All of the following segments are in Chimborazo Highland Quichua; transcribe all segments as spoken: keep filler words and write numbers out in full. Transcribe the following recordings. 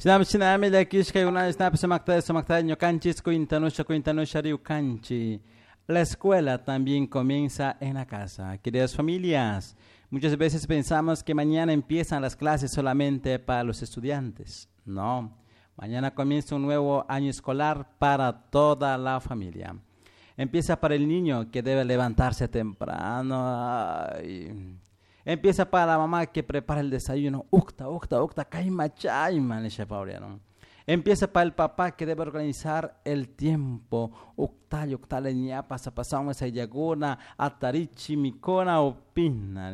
Shinami shinami llakishka shinapi sumakta sumakta ñukanchis cuintanusha cuintanusha riukanchi. La escuela también comienza en la casa. Queridas familias, muchas veces pensamos que mañana empiezan las clases solamente para los estudiantes. No, mañana comienza un nuevo año escolar para toda la familia. Empieza para el niño que debe levantarse temprano. Ay. Empieza para la mamá que prepara el desayuno. Ucta, ucta, ucta, caima, chayma, Empieza para el papá que debe organizar el tiempo. Uctali, uctali, ñapa, sapasama, sayaguna, atarichi, mikuna, opina.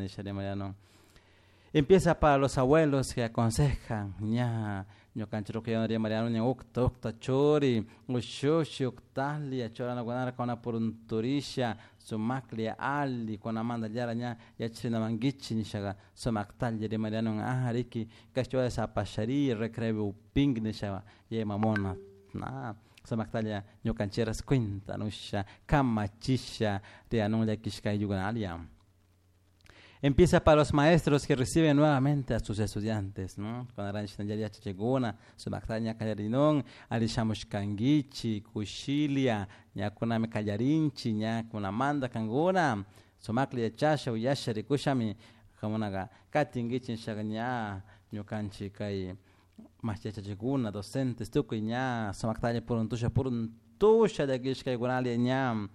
Empieza para los abuelos que aconsejan. Ña, ñukanchik María Mariano ña ucta, ucta, churi, ushushi, uctali, churana gunara kuna purunturisha, sumakli, ali, kunamanda llara ña yachrina mankichi nishaga sumaktalla Mariano ah riki kashwa sapashari recreo upink nisha ye mamona na sumaktalla ñukanchiras cuenta nusha kamachisha rianun llakishka ayllukunalia. Empieza para los maestros que reciben nuevamente a sus estudiantes, ¿no? Cuando yachachikuna, sumakta ña kallarinun, alli shamushkankichik, kushilia, ñakunami kallarinchik, ña kunamanta kankuna, sumakla yachasha, uyasha, rikushami, kankunaka katinkichik nishaga ña ñukanchik kay yachachikuna, docentes, tukuy ña sumaktalla puruntusha, puruntusha llakishkaykunalla ña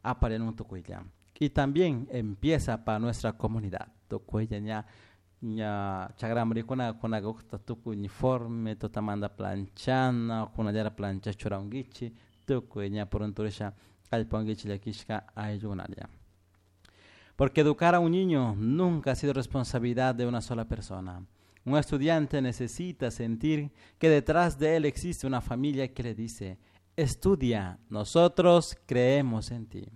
aparinun tukuylla. Y también empieza para nuestra comunidad. Tukuylla ña ña chagramurikuna kunaka ukta tukuy uniforme, tutamanta planchana, kunallara plancha churankichik, tukuy ña purunturisha kallpankichik llakishka ayllukunalla. Porque educar a un niño nunca ha sido responsabilidad de una sola persona. Un estudiante necesita sentir que detrás de él existe una familia que le dice, estudia, nosotros creemos en ti.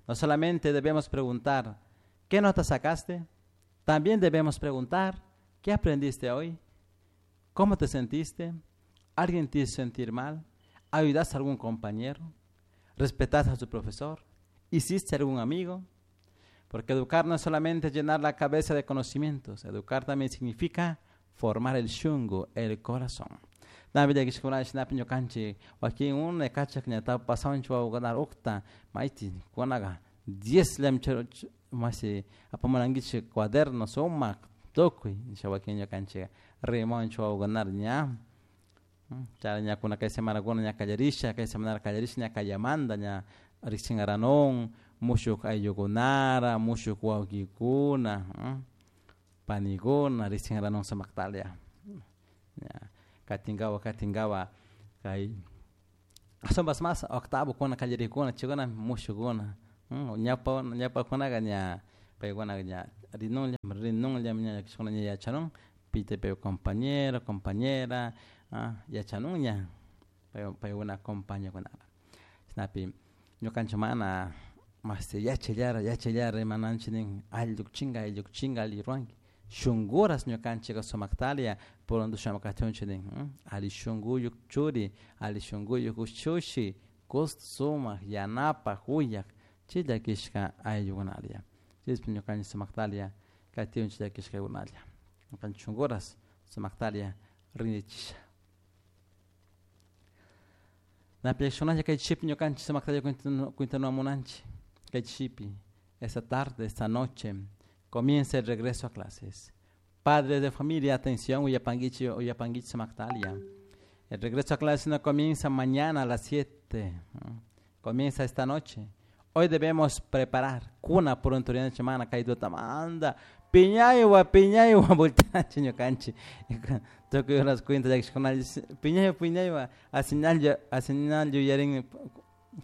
No solamente debemos preguntar, ¿qué nota sacaste? También debemos preguntar, ¿qué aprendiste hoy? ¿Cómo te sentiste? ¿Alguien te hizo sentir mal? ¿Ayudaste a algún compañero? ¿Respetaste a tu profesor? ¿Hiciste algún amigo? Porque educar no es solamente llenar la cabeza de conocimientos, educar también significa formar el shungu, el corazón. Nabi llakishkuna shinapi ñukanchik wakin unay kachak ña pasawanchik wawakuna ukta mayti kunaga diez llami masi apamunankichik cuaderno sumak tukuy nisha wakin ñukanchik rimawanchik wawakunara ña chay ña kuna kay semanakuna ña kallarisha kay semana kallarisha ña kallamanta ña rikshinkaranun mushuk ayllukunara mushuk wawkikuna panikuna rikshinkaranun sumaktalla ña katinkawa katinkawa kay ashtawanpas mas octavo kuna kallarikuna chaykuna mushukuna ñawpa ñawpakunaka ña paykunaka ña rinunlla rinunlla ña llakishkuna ña yachanun pita pay compañero compañera yachanun ña paykuna compañokunara chashnapi ñukanchik mana mashti yachallara yachallara rimananchik nin alli llukchinka alli llukchinka alli ruwanki shunkuras ñukanchik sumaktalla puruntu shamukatunchik nin alli shunkuyuk churi alli shunkuyuk ushushi gusto sumak yanapak uyak chay llakishka ayllukunalla chaypi ñukanchik sumaktalla katiunchik llakishkakunalla ñukanchik shunkuras sumaktalla rinrichisha. Napi llakishkunalla kay chishipi ñukanchik sumaktalla cuentanamunanchik kay chishipi esta tarde, esta noche comienza el regreso a clases. Padres de familia, atención, uyapanguichi, uyapanguichi sumaktalia. El regreso a clases no comienza mañana a las siete, comienza esta noche. Hoy debemos preparar kuna purunturina semana kay tutamanta piñaywa piñaywa volteanchik ñukanchik tukuy horas cuenta llakishkunalla piñaywa piñaywa asinalla asinalla yuyarin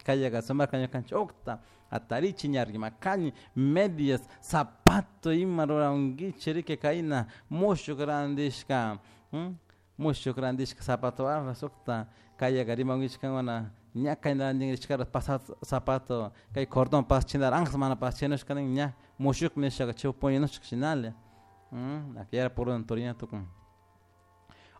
kayaka sumakta ñukanchik ukta atarichi ñarrimakani medias zapato ima rurankichik riki kayna mushuk randishka mushuk randishka zapato arras ukta kayaka rimankichik kankuna ña kayna randinrishkara pasado zapato kay cordón paschinara anjas mana paschinushka nin ña mushuk nishaka chay puñunushka shinala aquella purunturina tukun.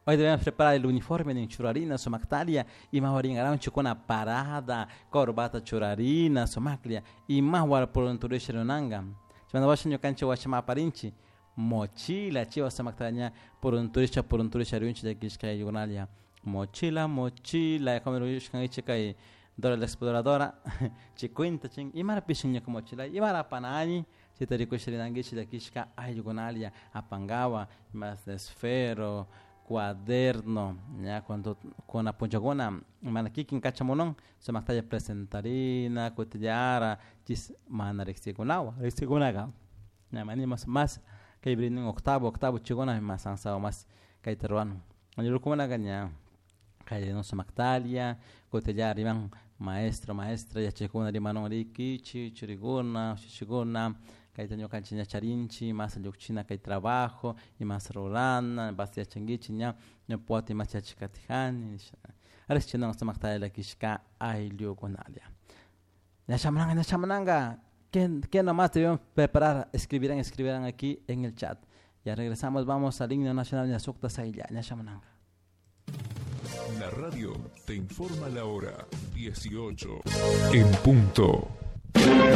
Hoy debemos preparar el uniforme en churarina, sumaktalia, y más chukuna parada, corbata churarina, sumaklia, y más purunturisha runanga. Chimanda washa ñukanchik washama aparinchi, Mochila chiwa samaktaña por un turista por un turista rinchi llakishka ayllukunalla mochila mochila como rishkankichik kay Dora la exploradora chay cuenta chin imarapish ñuka mochila imara apanani chayta rikush rinankichik llakishka ayllukunalla apankawa mas esfero cuaderno ña cuando kuna punllakuna mana kikin kachamunun sumaktalla presentarina kutillara chis mana riksikunawan riksikunaga ña manimos mas kay nin octavo octavo chaykuna mas avanzado mas kayta ruwan rukukunaka ña kay sumaktalla kutillara riman maestro maestra yachakuna rimanun rikichik churikuna ushushikuna kayta ñukanchik ña charinchik mas llukchina kay trabajo imas rurana bas yachankichik ña ñawpa wata imash yachakatijani nisha riqchinun sumaktalla llakishka ayllukunalla ña shamunanka ña shamunanka ¿Qué, qué nomás debemos preparar? Escribirán, escribirán aquí en el chat. Ya regresamos, vamos al himno nacional ña sukta saylla, ña shamunanka. La radio te informa la hora dieciocho en punto.